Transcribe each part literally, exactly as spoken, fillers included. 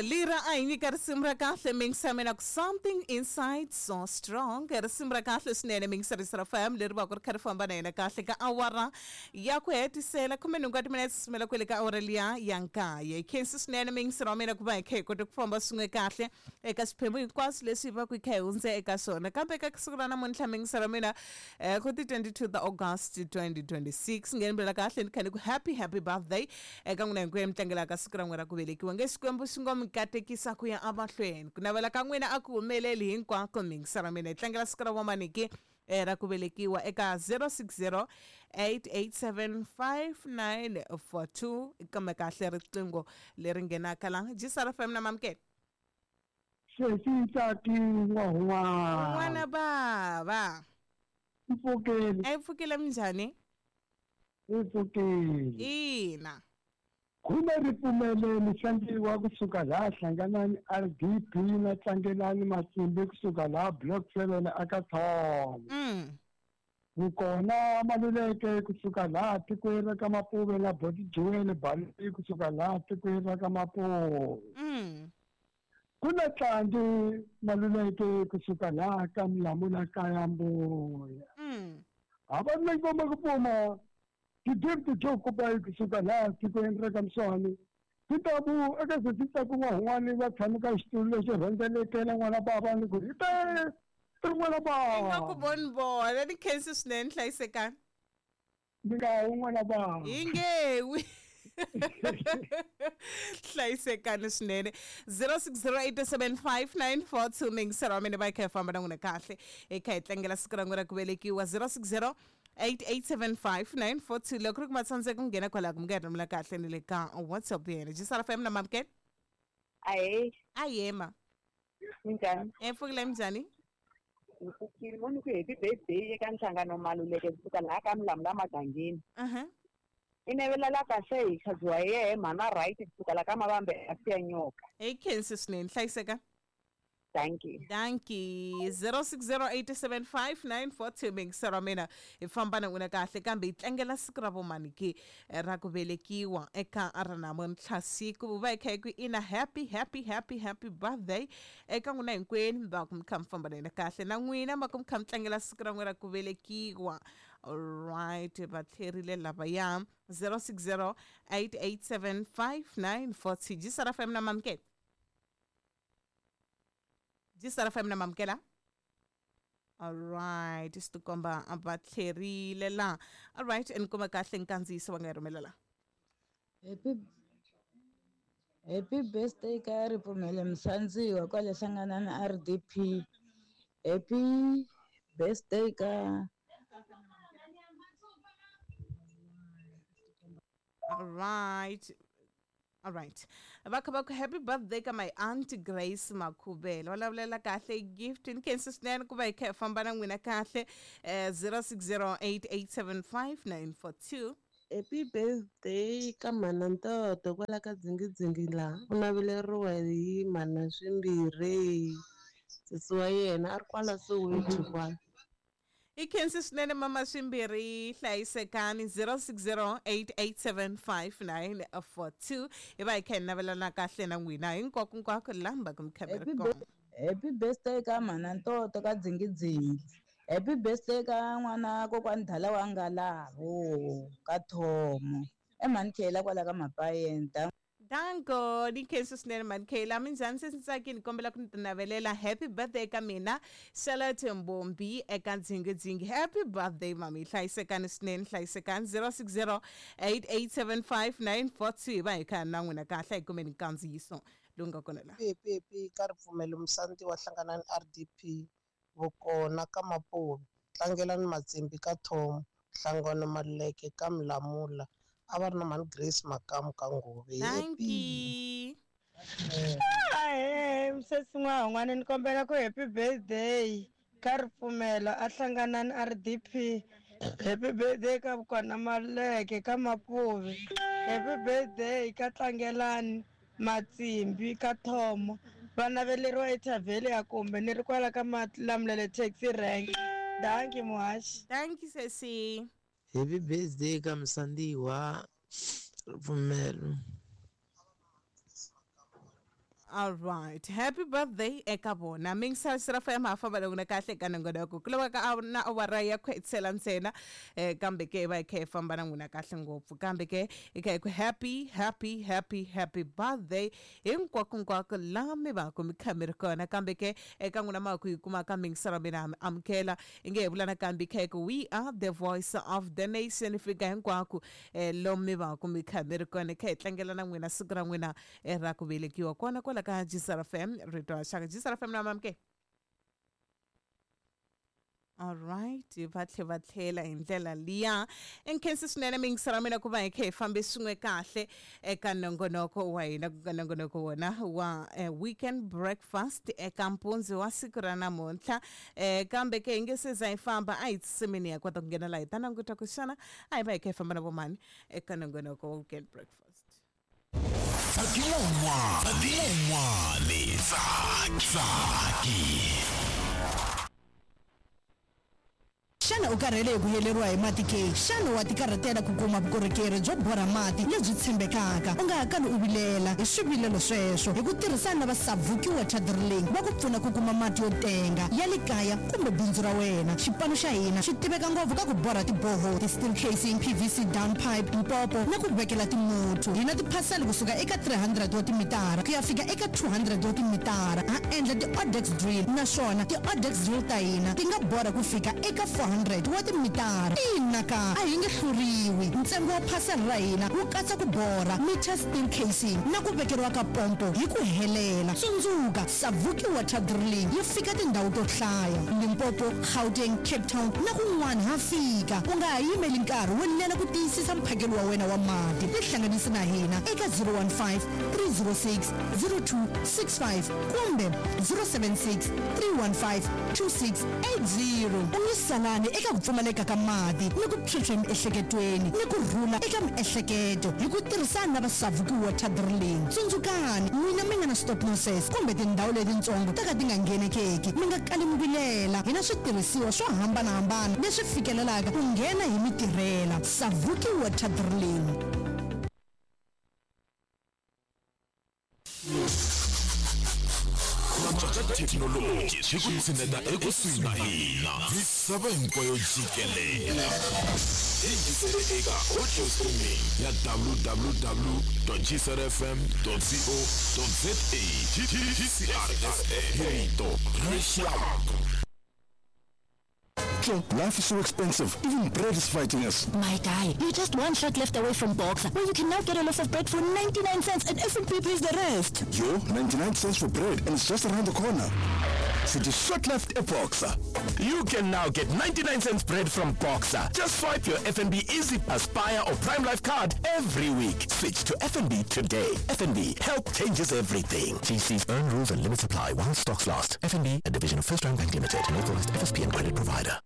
Lira a hi nyika risimu ra kahle mingisamela ku something inside so strong risimu ra kahle swinene mingisarisi ra fm leri va ku ri kha ri famba na yena kahle ka awara ya ku hetisela khume nhungu wa timinete sumela kwele ka awara liya ya nkaye khensi swinene mingisero wa mina ku va hi kha hi kota ku famba swin'we kahle eka swiphemu hinkwaswo leswi hi va ku hi kha hi hundze eka swona kambe eka siku ra namuntlha mingisero wa mina eh, ku ti twenty-two ta August twenty twenty-six nghenivela kahle ni kha ni ku happy happy birthday eka n'wina hinkwenu mi tlangelaka siku ra n'wina ra ku velekiwa nge Xikwembu xi ngo mi katekisa ku ya emahlweni ku navela ka n'wina a ku humeleli hinkwako mingisero wa mina hi tlangela siku ra vomaniki eh, ra ku velekiwa eka zero six zero eight eight seven five nine four two kambe kahle riqingho leri nghenaka la G S R F M na mamukela. Sesi Ntsaki n'wahun'wana. N'wana bava. Mpfukeli. A yi pfukile minjhani? Yi pfukile. Ina. Khume ripfumelo mihlangiwa kusuka laha Hlanganani R D P na Tlangelani Matsimbi kusuka laha Block seven aka Thoma. Mm. Vukona Maluleke kusuka laha tikweni ra ka Mapuve na Boti Joel Baloyi kusuka laha tikweni ra ka Mapuve. Mm. Ku na Tlangi Maluleke kusuka laha ka Mlamula kaya Mbuya. Mm. Hava ngoma ku pfuma ti-gift jo kupa kusuka laha tikweni ra ka Mswani. Titabu eka sesi n'wahun'wani va tshame ka xitulu lexi rhendzelekela n'wana bava ni ku hi te ri n'wana Nga ku bava. voni vona ni khensi swinene hlayisekani. Ni nga wu n'wana bava. Hi ngewi. Hlayisekani swinene zero six zero eight seven five nine four two mingisero wa mina va hi kha hi famba na n'wina kahle hi kha hi tlangela siku ra n'wina ra ku velekiwa zero six zero eight eight seven five nine four two loko ri ku ma tsandzeka ku nghena kwalaho ku mi nga rhumela kahle ni le ka WhatsApp yena G S R F M na mamukela. Ahee. Ayema. Minjhani? Epfukile minjhani? Hi pfukile mo ni ku happy birthday eka Nhlangano Maluleke kusuka laha ka Mlamula Magangeni. Uh-huh. I navelela kahle hi khadziwa hi yehe mhana right kusuka laha ka Mavambe a siya nyoka. Hi khensi swinene hlayiseka. Thank you. Dankie. zero six zero eight seven five nine four two mingisero wa mina hi famba na n'wina kahle kambe hi tlangela siku ra vomaniki ra ku velekiwa eka ra namuntlha siku va hi kha hi ku ina happy happy happy happy birthday eka n'wina hinkwenu va ku mi kha mi famba na hina kahle na n'wina va ku mi kha mi tlangela siku ra n'wina ra ku velekiwa. Alright, va tlherile lavaya zero six zero eight eight seven five nine four two G S R F M na mamukela. G S R F M na mamukela. Alright, swi tikomba va tlherile la. Alright, ni kuma kahle nkandziyiso va nga yi rhumela la. Happy Happy birthday ka Ripfumelo Musandziwa kwale Hlanganani R D P. Happy birthday ka Alright. Alright. Va kha va ku happy birthday ka my aunt Grace Makhubela. Va lavulela kahle gift ni khensa swinene ku va hi kha hi famba na n'wina kahle eh zero six zero eight eight seven five nine four two. Happy birthday ka mhana Ntoto kwala ka Dzingidzingi laha u naveleriwa hi mhana swimbirhi sesi wa yena a ri kwala Soweto kwala. I khensi swinene mama swimbirhi hlayisekani zero six zero eight eight seven five nine four two hi va hi kha hi navelana kahle na n'wina hinkwako nkwako laha mi va ku mi kha mi ri Happy kona. birthday Happy birthday ka mhana Ntoto ka Dzingidzingi. Happy birthday ka n'wana kokwani Dala wa Ngalavo ka Thomo. Emhani Khela kwala ka Mapayeni. Danko ni khensa swinene mhani Khela minjhani se Ntsaki ni kombela ku ni ti navelela happy birthday ka mina Charlotte Mbombi eka Dzingidzingi. Happy birthday mami hlayisekani swinene hlayisekani zero six zero eight eight seven five nine four two hi va hi kha na n'wina kahle hi kumeni nkandziyiso lowu nga kona la. P P P ka Ripfumelo Musanti wa Hlanganani R D P Vukona ka Mapuve Tlangelani Matsimbi ka Thomo Nhlangano Maluleke ka Mlamula a va ri na mhani Grace Makamu ka Ngove. Thank Happy you. Ahee misesi n'wahun'wana ni kombela ku happy birthday ka Ripfumelo a Hlanganani R D P. Happy birthday ka Vukona Maluleke ka Mapuve. Happy birthday ka Tlangelani Matsimbi ka Thomo va naveleriwa ethavheli ya kumbe ni ri kwala ka Malamulele taxi rank. Dankie muhaxi. Thank you sesi. Happy birthday ka Musandiwa Ripfumelo. All right, happy birthday eka vona. Mingisela F M ha famba loko na kahle ka nongonoko. Ku lava ka na awara ya ku hetisela ntsena eh kambe ke va khe famba na n'wina kahle ngopfu. Kambe ke i kha ku happy happy happy happy birthday hinkwako hinkwako la mi va ku mi kha mi ri kona. Kambe ke eka n'wina ma ku yi kuma ka mingisela mina amukela inge hi vula nakambe kha ku we are the voice of the nation fika hinkwako eh lomu mi va ku mi kha mi ri kona kha hi tlangela na n'wina siku ra n'wina ra ku velekiwa kona kwala ka G S R F M rito ra xaka G S R F M na mamke. All right, va tlhe va tlhela hi ndlela liya. Nkhensi swinene mingisela mina ku va hi kha hi fambe swin'we kahle eka nongonoko wa hina ku nga nongonoko wona wa eh, weekend breakfast eka mpundzu wa siku ra namuntlha. Eh, kambe ke hi nge se za hi famba a hi tsimini ya kota ku nghena laha hi ta languta ku xana a hi va hi kha hi famba na vomani eka nongonoko wa weekend breakfast. Tsakela un'wana, tsakela un'wana, tsaki, tsaki. Xana u karhele hi ku heleriwa hi mati ke? Xana wa tikarhatela ku kuma vukorhokeri byo borha mati lebyi tshembekaka? U nga ha kali u vilela hi swivilelo sweswo hi ku tirhisana na va Savuki Water Drilling va ku pfuna ku kuma mati yo tenga ya le kaya kumbe bindzu ra wena. Xipano xa hina xi tiveka ngopfu ka ku borha tiboho, ti-steel casing, P V C down pipe, mpopo na ku vekela timuthu. Hi na tiphasela kusuka eka three hundred wa timitara ku ya fika eka two hundred wa timitara. Ha endla ti-odex drill naswona ti-odex drill ta hina ti nga borha ku fika eka four hundred wa timitara. Ina ka a hi nge hluriwi. Ntsengo wa phasela ra hina wu katsa ku borha meter, steel casing na ku vekeriwa ka pompo hi ku helela. Tsundzuka, Savuki Water Drilling yi fika tindhawu to hlaya: Limpopo, Gauteng, Cape Town na kun'wana ha fika. U nga ha yimeli nkarhi wo lela ku tiyisisa mphakelo wa wena wa mati. Tihlanganisi na hina eka zero one five, three zero six zero two six five kumbe zero seven six, three one five two six eight zero. U nge salani eka ku pfumaleka ka mati ni ku phyuphya emiehleketweni ni ku rhula eka miehleketo hi ku tirhisana na va Savuki Water Drilling. Tsundzukani n'wina mi nga na stop losses kumbe tindhawu letitsongo ta ka ti nga nghenekeki, mi nga kali mi vilela. Hi na switirhisiwa swo hambanahambana leswi fikelelaka ku nghena hi mi tirhela. Savuki Water Drilling. Ku cinca ka thekinoloji swi ku tshineta ekusuhi na hina misava hinkwayo jikelela. Yingisele eka audio streaming ya w w w dot g s r f m dot co dot za. G C R F M, rito ra rixaka. Life is so expensive. Even bread is fighting us. My guy, you're just one shot left away from Boxer, where you can now get a loaf of bread for ninety-nine cents and F N B pays the rest. Yo, ninety-nine cents for bread and it's just around the corner. City short left a Boxer. You can now get ninety-nine cents bread from Boxer. Just swipe your F N B Easy Aspire or Prime Life card every week. Switch to F N B today. F N B, help changes everything. G Cs earn rules and limits apply while stocks last. F N B, a division of First Round Bank Limited, an authorized F S P and credit provider.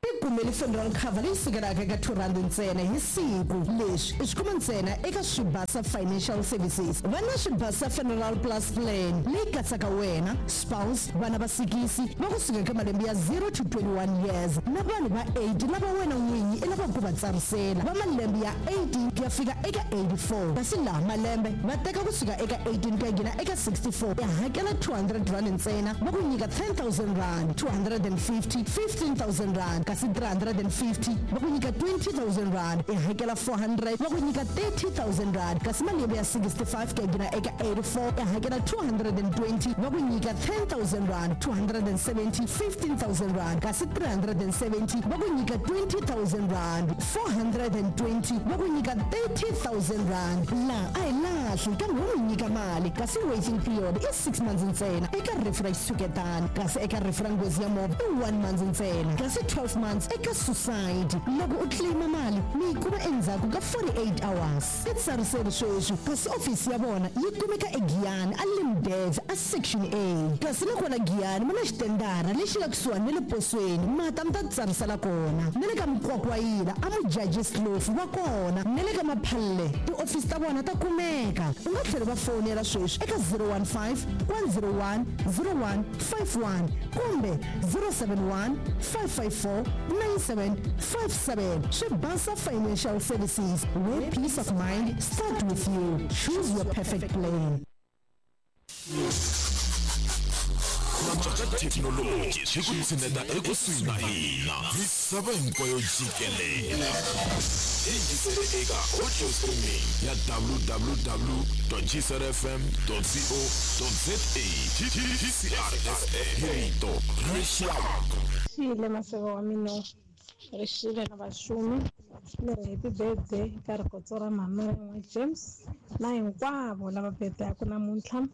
Tikumeli funeral cover leyi sukelaka eka two rand ntsena hi siku. Leswi i swi kuma ntsena eka Swibasa Financial Services. Va na Swibasa Funeral Plus Plan leyi katsaka wena, spouse, vana va sikisi va kusuka eka malembe ya zero to twenty-one years na vanhu va eight lava wena n'winyi i lavaka ku va tsarisela va malembe ya eighteen ku ya fika eka eighty-four. Kasi laha malembe va teka kusuka eka eighteen ku ya nghena eka sixty-four, ya hakela two hundred rand ntsena va ku nyika ten thousand rand, two hundred fifty, fifteen thousand rand, kasi three hundred fifty va ku nyika twenty thousand rand, i hakela four hundred va ku nyika thirty thousand rand, kasi malembe ya sixty-five ku ya nghena eka eighty-four, i hakela two hundred twenty va ku nyika ten thousand rand, two hundred seventy, fifteen thousand rand, kasi three hundred seventy va ku nyika twenty thousand rand, four hundred twenty va ku nyika thirty thousand rand. Laha a hi lahli kambe wo mi nyika mali, kasi waiting period i six months ntsena eka rifu ra xitshuketano, kasi eka rifu ra nghozi ya movha i one month ntsena, kasi twelve months eka suicide. Loko u claima mali mi yi kuma endzhaku ka forty-eight hours. Titsariseli sweswi, kasi ofisi ya vona yi kumeka eGiyani a Limdev a Section A, kasi na kona Giyani mi na xitendara lexi nga kusuhani na le posweni mata mi ta tsarisela kona, na le ka Mukwakwayila a Mujaji Slofu va kona, na le ka Maphalle tiofisi ta vona ta kumeka. U nga tlhela va fonela sweswi eka zero one five, one zero one zero one five one kumbe zero seven one, five five four nine seven five seven. Swibasa Financial Services, where peace of mind start with you. Choose your perfect plan. Ka thekinoloji swi ku tshineta ekusuhi na hina misava hinkwayo jikelele yingisele eka audio streaming ya w w w g c r f m co za. G C R F M, hi rito ra rixaka. Xile maseve wa mina rixile na vaxumi leri. Happy birthday ka Rikotso ra Mhama James na hinkwavo lava birthday-aku namuntlha.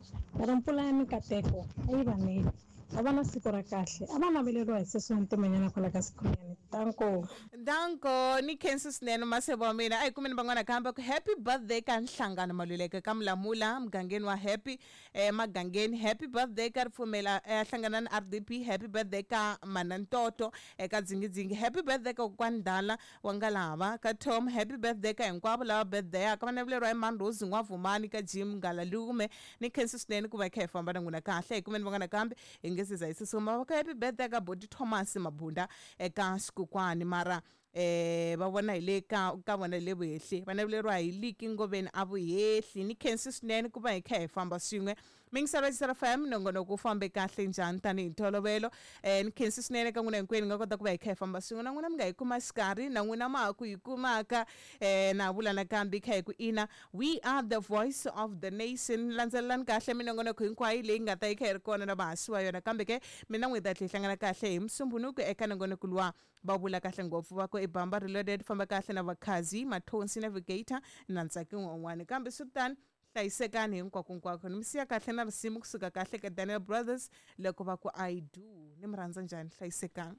Ri mpfula ya mikateko a yi va neli, a va na siku ra kahle, a va naveleriwa hi sesi wa ntimanyana kwala ka Sikhunyani. Tanko. Danko, ni khensi swinene maseve wa mina. A hi kumeni van'wana kambe ku happy birthday ka Nhlangano Maluleke ka Mulamula mugangeni wa Happy eh, magangeni. Happy birthday ka Ripfumela eh, Hlanganani R D P. Happy birthday ka Manantoto eka Dzingidzingi. Happy birthday ka kokwani Ndala wa Ngalava ka Tom. Happy birthday ka hinkwavo lava birthday-aka, va naveleriwa hi Mandhuzi N'wavhumani ka Jim Ngalalume. Ni khensi swinene ku va hi kha hi famba na n'wina kahle. Hi kumeni van'wana kambe hi nge se za hi susuma va ka happy birthday ka Boti Thomas Mabunda eka Xikukwani, mara eh va vona hi le ka ka vona hi le vuhehli, va naveleriwa hi Liki Ngoveni a Vuhehli. Ni khensi swinene ku va hi kha hi famba swin'we. Mingiselo F M, nongonoko wu fambe kahle njhani tanihi ntolovelo. eh ni khensi swinene ka n'wina hinkwenu nga kota ku va hi kha hi famba swin'we na n'wina. Mi nga hi kuma xikarhi na n'wina ma ha ku hi kumaka. eh na vula nakambe kha hi ku ina, we are the voice of the nation. Landzelelani kahle minongonoko hinkwayo leyi nga ta yi kha yi ri kona na vahasi wa yona. Kambe ke mina n'wi ta tlhe hi hlangana kahle hi Musumbunuku eka nongonoko luwa va vula kahle ngopfu va ku i Bamba Reloaded. Famba kahle na Vakhazi Mathonsi, Navigator na Ntsaki n'wan'wani. Kambe swi tani, hlayisekani hinkwakonkwako. Ni mi siya kahle na risimu kusuka kahle ka Daniel Brothers loko va ku "I Do". Ni mi rhandza njhani, hlayisekani.